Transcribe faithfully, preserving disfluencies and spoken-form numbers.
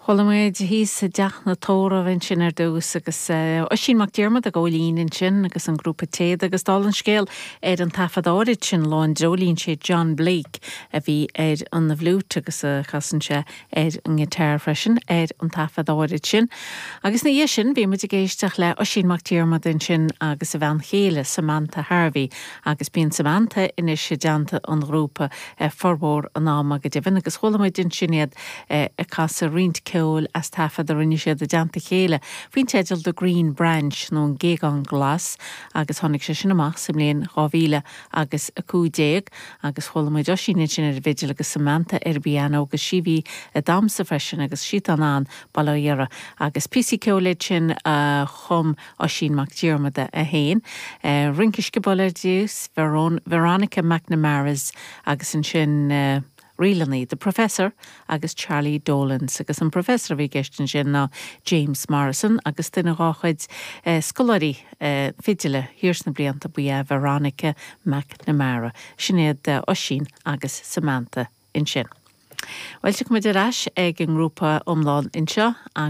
Chuala muid thíos i dTeach na Tórramh ansin ar dtús agus Oisín Mac Diarmada ag gabháil fhoinn ansin agus an grúpa Téad agus dála an scéil ar an taifead áirid sin Lá an Dreoilín sé John Blake a bhí ar an bhfliúit agus a chasann sé ar an ngiotár freisin ar an taifead áirid sin. Agus ina dhiaidh sin bhí muid ag éisteacht le Oisín Mac Diarmada ansin agus a bhean chéile Samantha Harvey agus bíonn Samantha anois i dteannta an ghrúpa formhór an ama go deimhin agus chuala muid ansin iad ag casadh roinnt ceoil as taifead a rinne siad i dteannta chéile faoin teideal The Green Branch nó an Géagán Glas agus tháinig sé sin amach sa mbliain dhá mhíle agus a cúig déag agus chuala muid Oisín ansin ar an bhfidil agus Samantha ar piano agus sí bhí ag damhsa freisin agus siad an bail ó Dhia agus píosaí ceoil sin a chum Oisín Mac Diarmada é féin. Rince Sciobóil ar dtús Veronica McNamara's agus ansin uh, rílannaí, The Professor agus Charlie Dolans agus an Professor a bhí i gceist ansin ná James Morrison agus duine dá chuid eh, scoláirí eh, fidile thiar sna blianta ba ea Veronica McNamara, sin iad eh, Oisín agus Samantha ansin. Well muid ar ais ag an ngrúpa iomlán anseo agus